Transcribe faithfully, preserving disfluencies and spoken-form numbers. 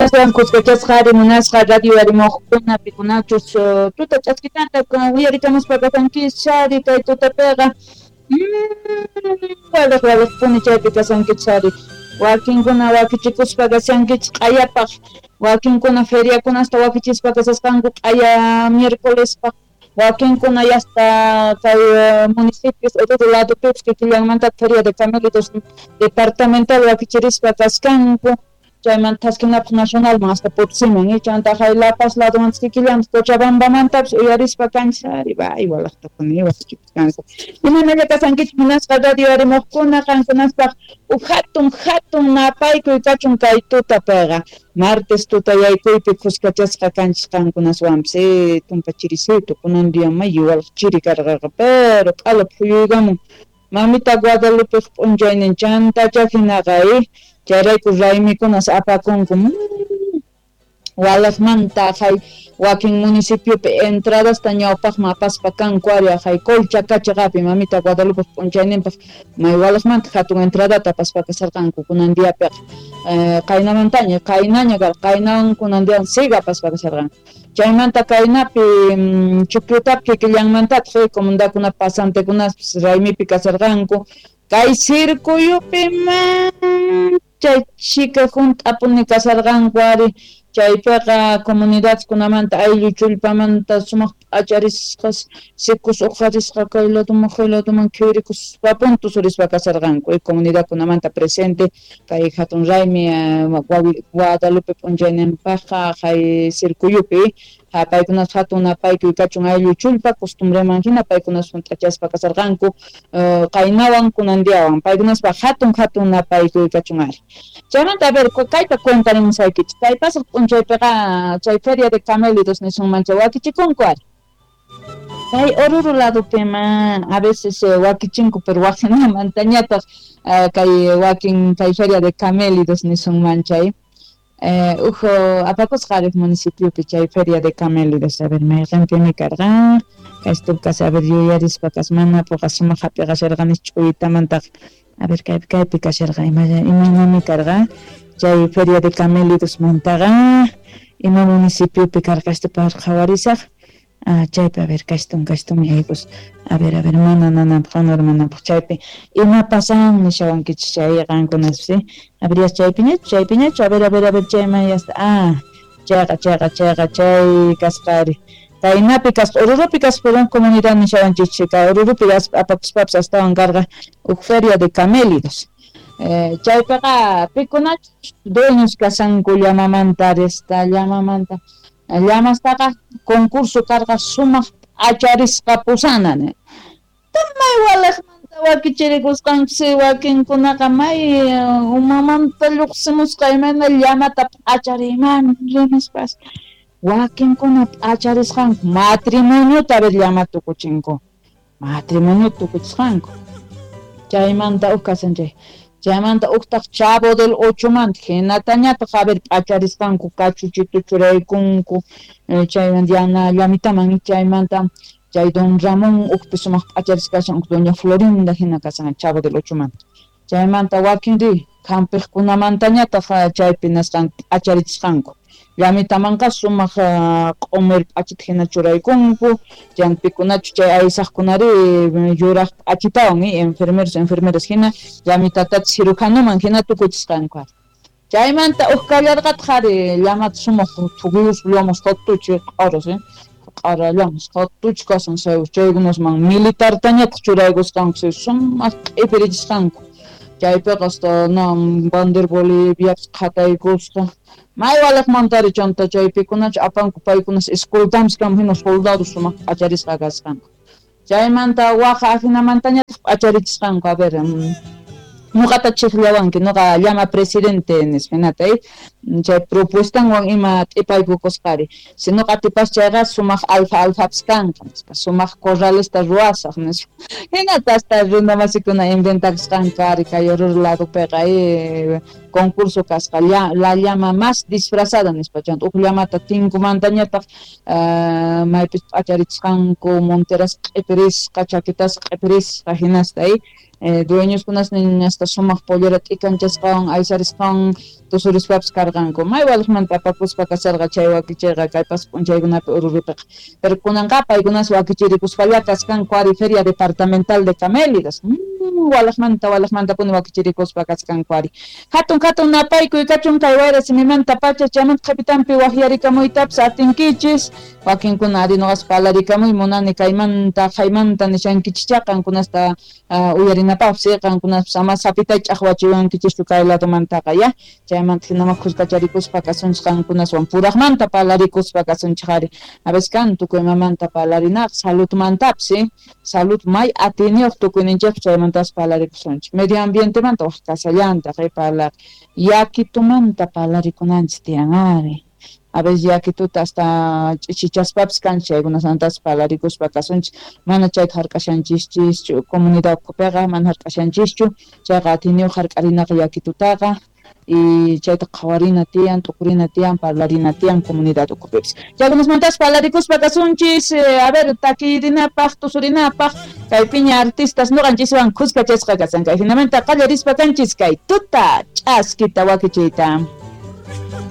Kuskachasqa munasqa radio arimuqkuna pikunachus tuta ch'askitanta uyarikamuspa kasankichis ari kay tutapiqa waliq waliqpuni chaypi kasankichis ari wakinkuna wakichikuspa kashankichis q'ayapaq wakinkuna feriakunasta wakichispa kasasqanku q'aya miércolespaq wakinkuna yasta kay municipios Oruro ladopipis kikillanmanta feria de camélidos departamental wakichirispa kaskanku chaymanta thaskinapaq nacionalman hasta Potosiman chanta hay La Paz ladomantas kikillantas Cochabambamantapis uyarispa kanchis ari bay walaqtapuni wakichikusqanku imaynalla kasankichis munasqa radio arimuqkuna qankunaspaq huk hatun hatun napaykuy kachun kay tutapiqa martes tutayaykuypi kuskachasqa kanchis qankunaswanpis tumpa chirisito kunan día may walaq chiri karqaqa pero q'ala phuyuykamun mamita Guadalupeq p'unchaynin chantacha hinaqa chayrayku raymikunas apakunku walaqmanta hay wakin municipiopi entradasta ñawpaqman apaspa kanku ari hay Colchacachiqapi mamita Guadalupe p'unchayninpaq may walaqmanta hatun entradata apaspa kasarqanku kunan diapiqa qaynamantaña qaynaña karqa qaynawan kunan diawan siga apaspa kasarqanku chaymanta kaynapi Chukyutapi kikillanmantataq comunidadkuna pasantekunaspis raymipi kasarqanku kay circuyupi chay chika hunt'apuni kasarqanku ari chaypiqa comunidadkunamanta ayllu chullpamanta sumaq p'acharisqas sikus uqharisqa kay laduman hay laduman qhirikuspa puntus rispa kasarqanku comunidadkunamanta presente kay hatun raymi Guadalupe p'unchayninpaqqa hay circuyupi paykunas hatun napaykuy kachun ayllu chullpa costumbreman hina paykunas hunt'achaspa kasarqanku qaynawan kunan diawan paykunaspaq hatun hatun napaykuy kachun ari chaymanta a ver kayta cuentarimusaykichis kay pasaq p'unchaypiqa chay feria de camélidos nisunman chay wakichikunku ari kay Oruro ladopima a veces wakichinku pero waqinamantañataq kay wakin kay feria de camélidos nisunman chay huk apakusqa ariq municipiopi chay feria de camélidos a ver mayqinpimi karqa kaystup a ver yuyarispa kas mana puqa sumaq hap'iqasharqanis ch'uyitamantaq a ver kaypi kaypi kasharqa imaynami karqa chay feria de camélidos mantaqa ima municipiopi karqa esto qhawarisaq ah chaypi a ver kastun kastun yaykus a ver a ver mana nananpaq honor mananpaq chaypi ima pasan nishawankichis chay qankunaspis a ver chaypiñachu chaypiñachu a ver a ver a ver chayman yasta ah chayqa chayqa chayqa chay kasqa ari kaynapi kasqa Oruropi kasqa pero comunidad nishawanchis kay Oruropi apakuspapis astawan karqa huk feria de camélidos chaypiqa pikunachus dueños kasanku llamamanta arista llamamanta llamastaqa concurso karqa sumaq p'acharisqa pusana may walaqmanta wakichirikusqankusi wakinkunaqa may umamanta lluqsimusqa imayna llamata p'achariyman rinispas wakinkuna p'acharisqanku matrimoniota a ver llama tukuchinku matrimonio tukuchisqanku chaymanta huk kasan chay chaymanta huktaq Chavo del Ochomanta hinatañataq a ver p'acharisqanku kachuchito churaykunku chaymanta yana llamitaman chaymanta chay don Ramón hukpi sumaq p'acharisqa kashan huk doña Florinda hina kashan Chavo del Ochomanta chaymanta wakinri hampiqkunamantañataq chaypi nasqanku p'acharichisqanku llamitamanqa sumaq q'umir p'achita hina churaykunku chaypikunachu chay aysaqkunari yuraq p'achitawan enfermeros enfermeras hina llamitatata cirujanoman hina tukuchisqanku chaymanta huk kallarqataq ari llamata sumaq thuqyuspa llamas hatuchi q'aras q'ara llamas hatuchi kasan chaykunasman militartañataq churaykusqanku sumaq q'ipirichisqanku chaypiqa hasta bandera Boliviapis qhataykusqa may walaqmantari chanta chaypikunachu apanku paykunas escoltampis kama hina soldados sumaq p'acharisqa kasqanku chaymanta waqa ajinamantañataq p'acharichisqanku a ver nuqata chiqllawanki nuqa llama presidente nispa hinata chay propuestanwan ima t'ipaykukusqari si nuqa atipas chayqa sumaq alfa alfapis kanqa nispa sumaq corralesta ruwasaq nispa hinata hasta runamasikuna inventakusqanku ari kay Oruro ladopiqa concurso kasqa la llama más disfrazada nispa chanta huk llamata tinkumantañataq maypis p'acharichisqanku monteras q'ipirisqa chaquitas q'ipirisqa hinasta dueñoskunas hasta sumaq pollera t'ikanchasqawan aysarisqawan tusurispapis karqanku may waliqmanta apakuspa kasarqa chay wakichiyqa kay pas p'unchaykunapi Oruropiqa pero kunanqa paykunas wakichirikuspalla kaskanku ari Feria Departamental de Camélidos mm, waliqmanta waliqmantapuni wakichirikuspa kaskanku ari hatun hatun napaykuy kachun kay wayra simimanta pacha chaymanta qhipitanpi waqyarikamuytapas atinkichis wakinkuna ari nuqas parlarikamuy munani kaymanta qaymanta nishankichischá qankunasta uh, uyarinapaqpis qankunas ama sapita ch'aqwachiwankichischu kay ladomantaqa ya chaymanta hinama khuskacharikuspa kasunchik qankunaswan puraqmanta parlarikuspa kasunchik ari a veces kan tukuy imamanta parlarinaqa saludmantapis salud may atiyniyuq tukuyninchikpas chaymantas parlarikusunchik medio ambientemanta waq kasallantaq parlaq yakitumanta parlarikunanchik tiyan ari a veces yakituta hasta ch'ichichaspapis kanchik chaykunamantas parlarikuspa kasunchik mana chayta hark'ashanchischu comunidad ukhupiqa mana hark'ashanchischu chayqa atiyniyuq hark'arinaqa yakitutaqa y chayta qhawarina tiyan t'ukurina tiyan parlarina tiyan comunidad ukhupipis chaykunasmantas parlarikuspa kasunchis a ver takirinapaq tusurinapaq kaypiña artistas nuqanchiswan khuskachasqa kasan kay hinamanta qallarispa kanchis kay tuta ch'askita wakichiyta.